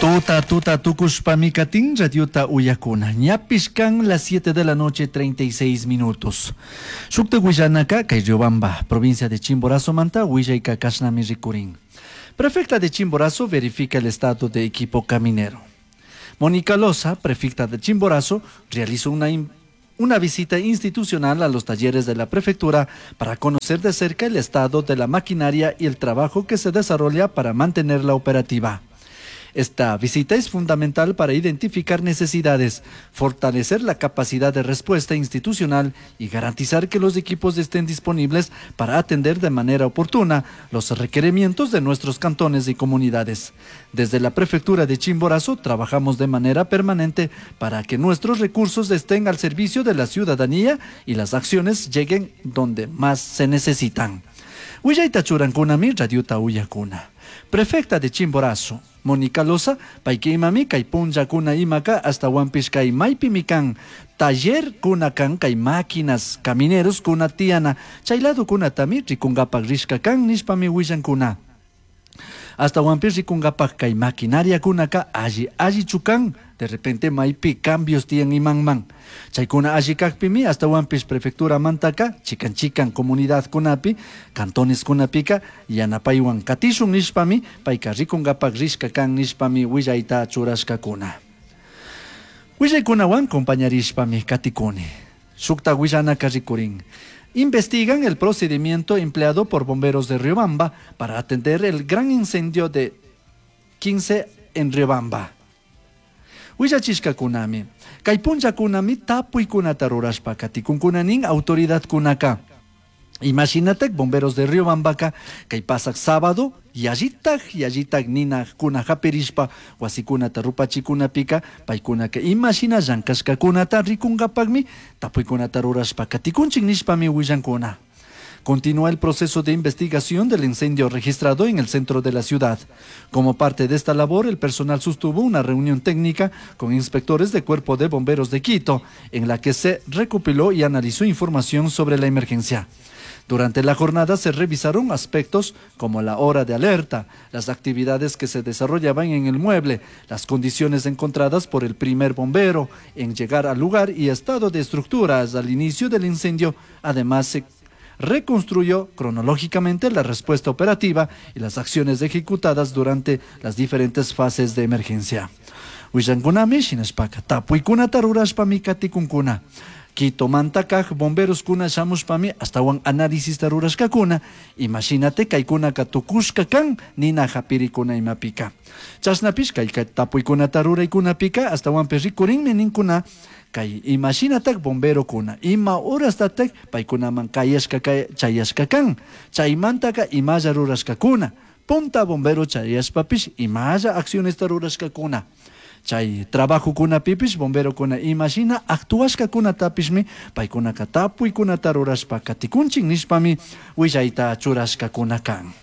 Tuta tuta tukushpami katin radiota uyakuna. Ñapish kan las 7 de la noche 36 minutos. Shukta willanaka kay Riobamba, provincia de Chimborazo manta willayka kashnami rikurin. Prefecta de Chimborazo verifica el estado de equipo caminero. Mónica Loza, prefecta de Chimborazo, realizó una visita institucional a los talleres de la prefectura para conocer de cerca el estado de la maquinaria y el trabajo que se desarrolla para mantenerla operativa. Esta visita es fundamental para identificar necesidades, fortalecer la capacidad de respuesta institucional y garantizar que los equipos estén disponibles para atender de manera oportuna los requerimientos de nuestros cantones y comunidades. Desde la prefectura de Chimborazo trabajamos de manera permanente para que nuestros recursos estén al servicio de la ciudadanía y las acciones lleguen donde más se necesitan. Willayta churankunami radiota uyakuna. Prefecta de Chimborazo, Mónica Loza, payka imami kay punllakuna imaka ashtawanpish kay maypimi kan taller kuna kan kay máquinas camineros kuna tiyana chay ladokunatami rikunkapak rishka kan nishpami willankuna. Ashtawanpish rikunkapak kay maquinaria kunaka alli allichu kan, de repente maypi cambios tiyan imanman. Chaykuna alli kakpimi ashtawanpish prefectura mantaka chikan chikan comunidad kunapi, cantones kunapika yanapaywan katishun nishpami payka rikunkapak rishka kan nishpami willayta churashkakuna. Willaykunawan compañarishpami katikuni. Shukta willanaka rikurin. Investigan el procedimiento empleado por bomberos de Riobamba para atender el gran incendio de 15 en Riobamba. Willachishkakunami. Kay punllakunami tapuykunata rurashpa katikunkunanin autoridad kunaka. Imagínate bomberos de Riobambaka kay pasak sábado yallitaj yallitaj nina kuna hapirishpa wasikunata rupachikunapika paykunaka imashina llankashkakunata rikunkapakmi tapuykunata rurashpa katikunchik nishpami willankuna. Continúa el proceso de investigación del incendio registrado en el centro de la ciudad. Como parte de esta labor, el personal sostuvo una reunión técnica con inspectores de Cuerpo de Bomberos de Quito, en la que se recopiló y analizó información sobre la emergencia. Durante la jornada se revisaron aspectos como la hora de alerta, las actividades que se desarrollaban en el mueble, las condiciones encontradas por el primer bombero en llegar al lugar y estado de estructuras al inicio del incendio. Además, se reconstruyó cronológicamente la respuesta operativa y las acciones ejecutadas durante las diferentes fases de emergencia. Willankunami shinashpaka tapuykunata rurashpami katikunkuna. Quito manta bomberos kuna shamushpami ashtawan análisis rurashkakuna. Imagínate kaykunaka tukushka kan nina hapirikuna imapika. Chashnapish kay tapuykunata ruraykunapika ashtawanpish rikurinmi ninkuna kay imashinatak bomberokuna ima horastatak paykunaman kayashka chayashka kan chaymantaka imalla rurashkakuna punta bombero chayashpapish imalla accionesta rurashkakuna chay trabajokunapipish bomberokuna imashina actuashkakunatapishmi paykunaka tapuykunata rurashpa katikunchik nishpami willayta churashkakuna kan.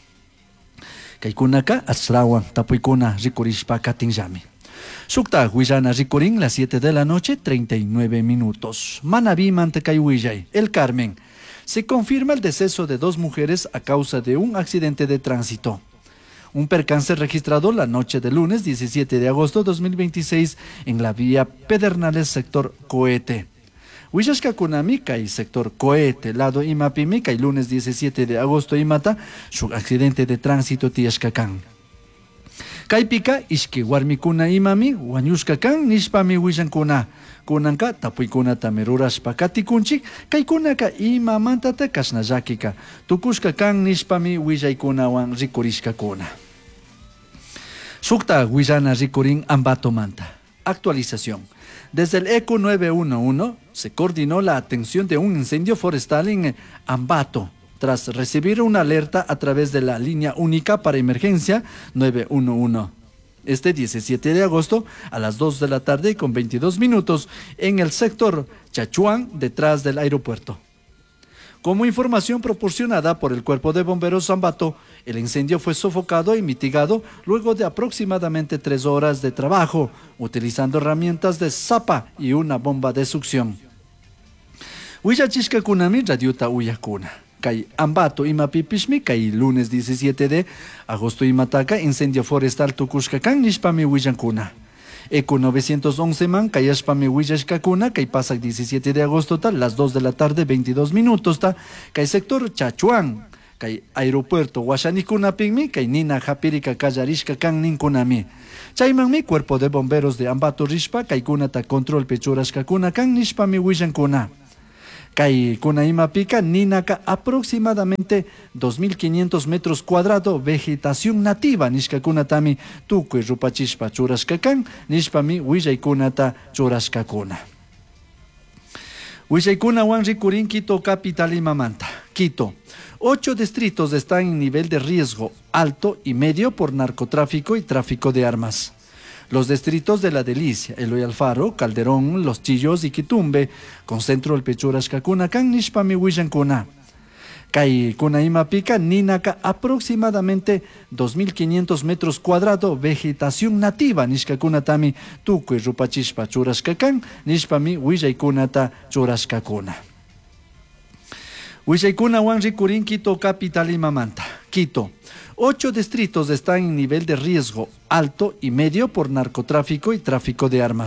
Kaykunaka ashrawan tapuykuna rikurishpa katinllami. Shukta willana rikurin las 7 de la noche 39 minutos. Manabí manta kay willay. El Carmen. Se confirma el deceso de 2 mujeres a causa de un accidente de tránsito. Un percance registrado la noche del lunes 17 de agosto de 2026 en la vía Pedernales, sector Cohete. Willashkakunami kay sector Cohete, lado imapimi kay lunes 17 de agosto imata, shuk accidente de tránsito tiyashkakan. Kaypika ishki warmikuna imami wañushkakan nishpami willankuna. Kunanka tapuykunatami rurashpa katikunchik, kaykunaka imamantata kashna llakika tukushka kan nishpami willaykunawan rikurishkakuna. Shukta willana rikurin Ambatomanta. Actualización. Desde el ECO 911 se coordinó la atención de un incendio forestal en Ambato, tras recibir una alerta a través de la línea única para emergencia 911. Este 17 de agosto a las 2 de la tarde con 22 minutos en el sector Chachuán, detrás del aeropuerto. Como información proporcionada por el Cuerpo de Bomberos Ambato, el incendio fue sofocado y mitigado luego de aproximadamente 3 horas de trabajo, utilizando herramientas de zapa y una bomba de succión. Willachishkakunami radiota uyakuna. Kay Ambato imapipishmi kay lunes 17 de agosto imataka incendio forestal tukushka kan nishpami willankuna. Eco 911 man kayashpami willashkakuna kay pasak 17 de agosto ta las 2 de la tarde 22 minutos ta kay sector Chachuán kay aeropuerto Huashanikunapinmi kay nina hapirika kallarishka kan ninkunami. Chaymanmi cuerpo de bomberos de Ambato rishpa kaykunata controlpi churashkakuna kan nishpami willankuna. Kay kuna imapika ninaka aproximadamente 2500 metros cuadrado vegetación nativa nishkakunatami tukuy rupachishpa churashka kan nishpami willaykunata churashkakuna. Willaykunawan rikurin Quito capital imamanta. Quito. 8 distritos están en nivel de riesgo alto y medio por narcotráfico y tráfico de armas. Los distritos de La Delicia, Eloy Alfaro, Calderón, Los Chillos y Quitumbe, con centro el Pechurashkakuna, kan nishpami willankuna. Kay kuna imapika ninaka aproximadamente 2500 metros cuadrado vegetación nativa nishkakunatami tukuy rupachishpa churashka kan nishpami willaykunata churashkakuna. Willaykunawan rikurin Quito capital imamanta. Quito. 8 distritos están en nivel de riesgo alto y medio por narcotráfico y tráfico de armas.